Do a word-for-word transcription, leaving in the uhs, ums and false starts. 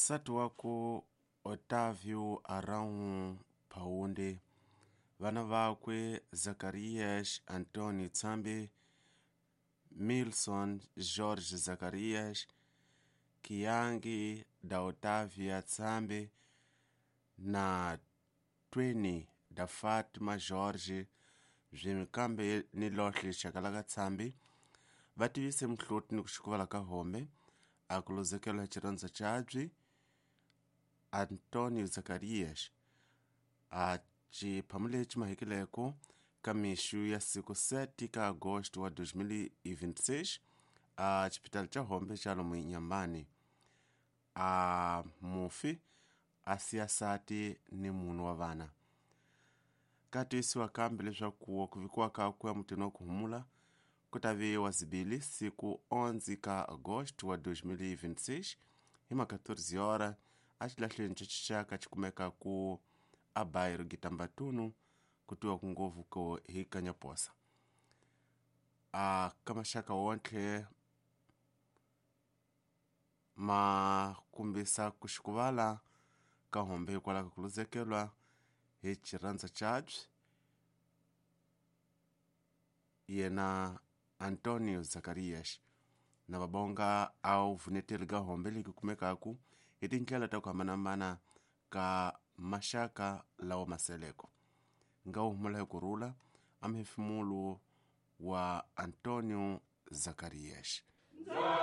Nsati wakwe Otávio Arão Paunde, vana vakwe Zacarias Antônio Tsambe, Milson Jorge Zacarias, Kiangi da Otávia Tsambe na Tweni da Fátima Jorge byi ni lohle xakalaka Tsambe va tivise muhloti ni ku xikuvala ka hombe a ku luzekela xirhandza xabye Antônio Zacarias a xiphamu lexi mahekileko ka mixu ya siku sete ka agosto wa dois mil e vinte e seis a xipitali xa hombe xa lomu Inhambane. A mufi a siya nsati ni mune wa vana. Ka tivisiwa kambe leswaku ku vikiwa kakwe emutini wa ku humula ku ta viwa zibili siku onze ka agosto wa dois mil e vinte e seis hi ma quatorze horas a xilahlweni xa xixaka xi kumeka ku a bairro Gitambatunu ku tiwa ku ngopfu ko hi Kanyaposa. A ka maxaka wontlhe ma kombisa ku xikuvala ka hombe hikwalaho ka ku luzekelwa hi xirhandza xabye yena Antônio Zacarias na vabonga a wu vuneteli ka hombe leyi kumekaku hi tindlela ta ku hambanahambana ka maxaka lawa maseleko nga wu humula hi kurhula a muhefemulo wa Antônio Zacarias.